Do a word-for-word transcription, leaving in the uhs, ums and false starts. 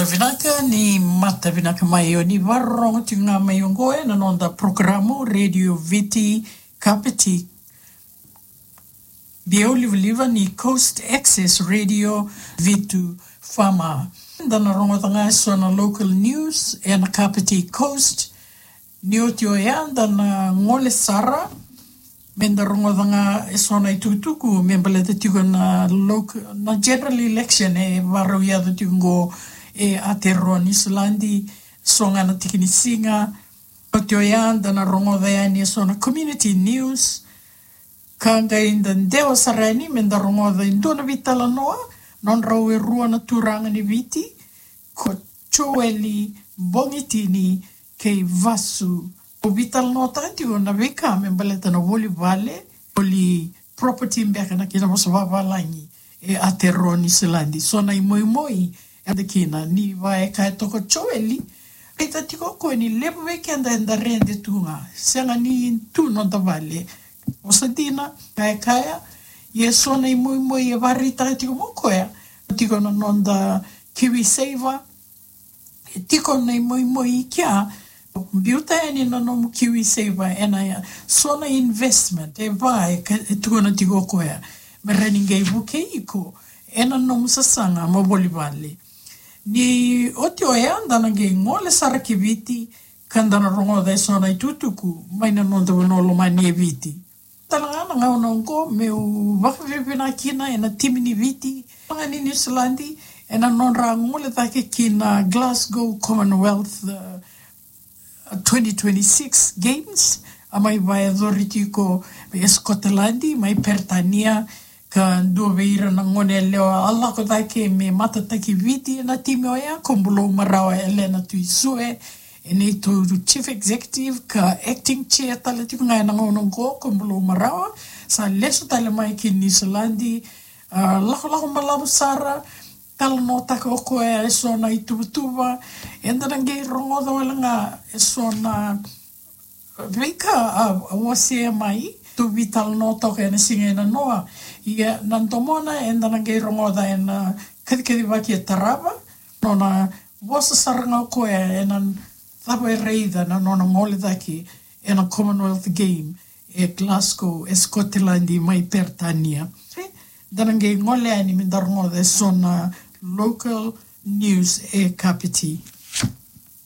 Vinaka ni mata vinaka mai, o ni vakarorogo tiko ga mai oqo ena noda porokaramu Radio Viti Kapiti. Biau livaliva ni Coast Access Radio Vitu F M. Da na rogoca ga eso na local news ena Kapiti Coast. Ni oti oya da na gole sara me da rogoca ga eso na itukutuku me baleta tiko na local, na general election e vakarau yaco tiko oqo e Aotearoa Niusiladi, so ga na tiki ni siga. Oti oya da na rogoca yani eso na community news. Ka qai da dewa sara yani me da rogoca e dua na veitalanoa nodrau e rua na turaga ni Viti, ko Joeli Bogitini kei Vasu. Au veitalanoataka tiko na veika me baleta na voli vale, voli property beka na kena vosa vavalagi e Aotearoa Niusiladi. So na imoimoi e da kina ni vaka e kaya toka o Joeli, e ta tiko o koya ni levu vei keda eda rede tu ga, sega ni tu noda vale. Vosa dina, kaya kaya, ia so na imoimoi e vakaraitaka tiko mai o koya, tiko na noda KiwiSaver, e tiko na imoimoi i kea, biuta yani na nomu KiwiSaver ena so na investment e va e ka-, e tukuna tiko o koya me rawa ni qai vukei iko ena nomu sasaga mo voli vale. Ni oti oya da na qai gole sara ki Viti ka da na rogoca eso na itukutuku mai na noda vanua lomani e Viti. Tale ga na gauna oqo meu vakavinavinaka kina ena timi ni Viti, ga ni Niusiladi, ena nodra gole cake ki na Glasgow Commonwealth, uh, twenty twenty-six Games, a mai vakayacori tiko e Scotland, mai Peritania, ka dua vei ira na gone yalewa a lako cake me matataki Viti ena timi oya, ko Bulou Marawa Elena Tuisue, e neitou chief executive ka acting chair tale tiko ga ena gauna oqo ko Bulou Marawa, sa lesu tale mai ki Niusiladi, a, lakolako balavu sara, talanoataka o koya eso na ituvatuva, eda na qai rogoca wale ga eso na veika a, a wasea mai, tou veitalanoa toka ena siga ena noa. Ia na domona eda na qai rogoca ena kacikacivaki e tarava, nona vosa sara ga o koya ena cava e raica na nona gole cake ena Commonwealth Game e Glasgow, e Scotland, mai Peritania. Da na qai gole yani me da rogoca eso na local news e Kapiti.